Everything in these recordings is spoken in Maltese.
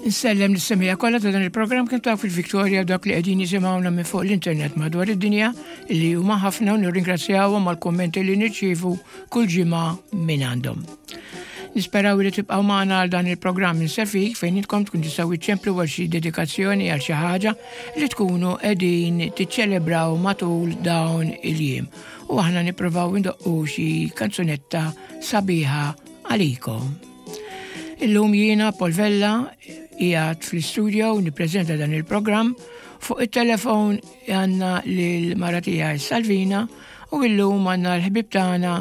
Insellem lis-semija kollha ta' dan il-programm kemm ta' fil-Victoria dak li qegħdin jisimgħuna minn fuq l-internet madwar id-dinja li huma ħafna u nirringrazzjawhom għall-kummenti li nirċievu kull ġimgħa minn għandhom. Nisperaw li tibqgħu magħna għal dan il-programm insefik fejn intkom tkun tistgħu iċċemplu għal xi dedikazzjoni għal xi ħaġa li tkunu qegħdin tiċċelebraw matul dawn il-jiem. U aħna nippruvaw indoqqu xi kanzunetta sabiħa għalikom. Illum jiena Paul Vella qiegħed fl-istudio nippreżenta dan il-programm fuq it-telefon għandna lil mara tiegħi Salvina u illum għandna l-ħbib tagħna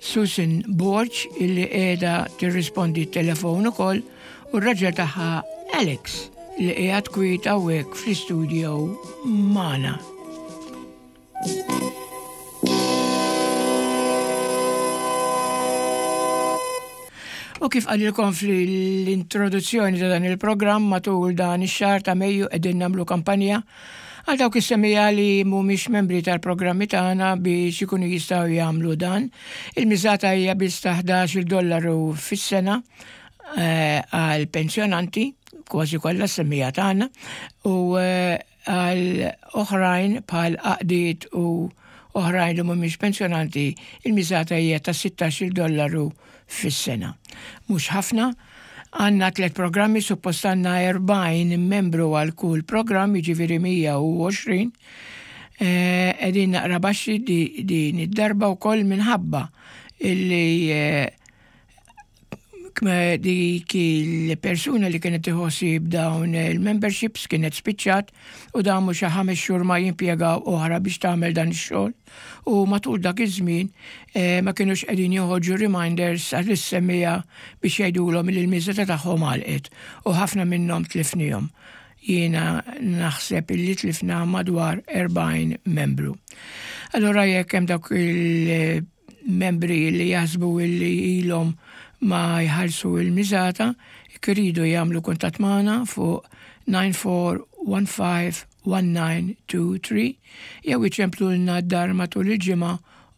Susan Borg illi qiegħda tirrispondi t-telefon ukoll u r-raġel tagħha Alex li qiegħed kwiet hawnhekk fl-istudio magħna. U kif qalilkom fl-introduzzjoni ta' dan il-programm matul dan ix-xahar ta' Mejju qegħdin nagħmlu kampanja għal dawk is-semija li mhumiex membri tal-programmi tagħna biex ikunu jistgħu jagħmlu dan. Il-miżata hija biss ta' 11 dollaru fis-sena eh, għal pensjonanti, kważi kollha s-semija tagħna, u eh, Għal oħrajn bħal għaqdiet u oħrajn li mhumiex pensjonanti, il-miżata hija ta' 16-il dollaru fis-sena. Mhux ħafna. Għandna tlett programmi, suppost għandna 40 membru għal kull programm, jiġifieri 120. Qegħdin naqra baxxi din id-darba wkoll minħabba illi Dik il-persuna li kienet tieħu dawn il-memberships kienet spiċċat u damu xi ħames xhur ma jimpjegaw oħra biex tagħmel dan ix-xogħol u matul dak iż-żmien eh, ma kinux qegħdin joħorġu reminders għall-semmija biex jgħidulhom li l-miżata tagħhom għalqet u ħafna minnhom tlifnihom. Jiena naħseb illi tlifna madwar 40 membru. Allora jekk hemm dawk il membri li jaħsbu illi ilhom ma jħallsu il-miżata, jekk iridu jagħmlu kuntatt magħna fuq 94151923 jew iċemplulna d-dar matul il-ġimgħa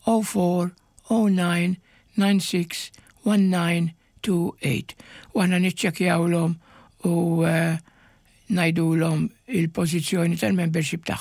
0409 96 1928 u aħna niċċekkjawlhom u eh, ngħidulhom il-pożizzjoni tal-membership tagħhom.